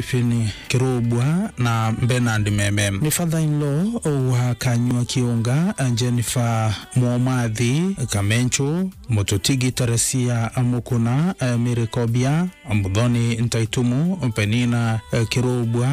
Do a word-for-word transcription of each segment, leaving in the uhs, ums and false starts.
Stephen Kirubwa na Bernard Meme. Ni father-in-law wa Kanyua Kiunga, Jennifer Mwomathi Kamenchu, Mututigi Teresia Mukuna, Mary Kobia, Muthoni Ntaitumu, Penina Kirubwa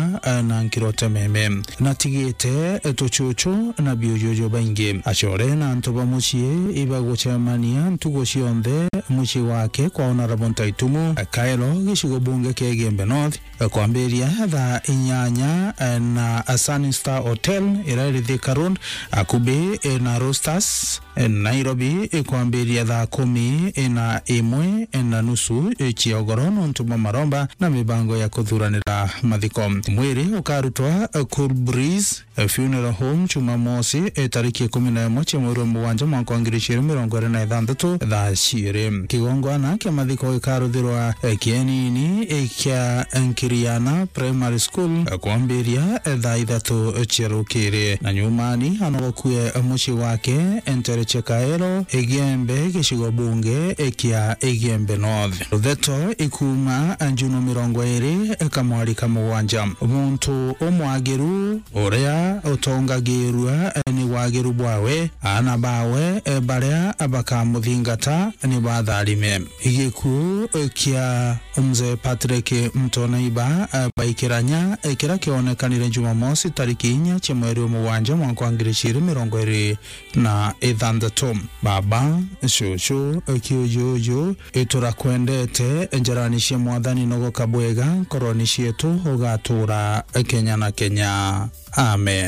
na Nkirote Meme. Natigite tuchuchu na biujuju baingi. Acore na antu ba mucii ibagucemania ntugu cionthe mucii wake kwa Honourable Ntaitumu, Kaelo, gicigo bunge kia Igembe North, kwambiria thaa inyanya na Sunny Star Hotel iria iri Thika Road, akubi na Roosters, Nairobi, kwambiria thaa kumi na imwe na nusu cia ugoro nontu bwa maromba na mibango ya kuthuranira mathiko. Mwiri ukarutwa Cool Breeze Funeral Home Jumamosi, e, tariki ikumi na imwe cia mweri wa mugwanja mwaka wa ngiri igiri mirongo iri na ithanthatu, thaa ciiri. Kigongwana kia mathiko gikaruthirwa, e, kienini, e, kia Nkiriana Primary School, e, kwambiria, e, thaa ithatu cia rukiri. Na nyumani anogokue mucii wake, e, ntere cia Kaero, Igembe, gicigo bunge, e, kia Igembe North. Rutheto ikuma, e, Njuno mirongo iri, e, kamwari ka mugwanja. Muntu umwagiru uria utongagirua, e, ni wagiru bwawe, aana bawe, e, baria bakamuthingata ni batharime. Gikuu, e, kia Mzee Patrick Ntoneiba, e, Baikiranya, e, kiria kionekanire Jumamosi tariki inya cia mweri wa mugwanja mwaka wa ngiri igiri mirongo iri na ithanthatu. Baba, cucu, e, kiujuju, iturakwendete, njarani cia Mwathani nogoka bwega, nkoroni cietu ugatuura kenya na kenya. Amen.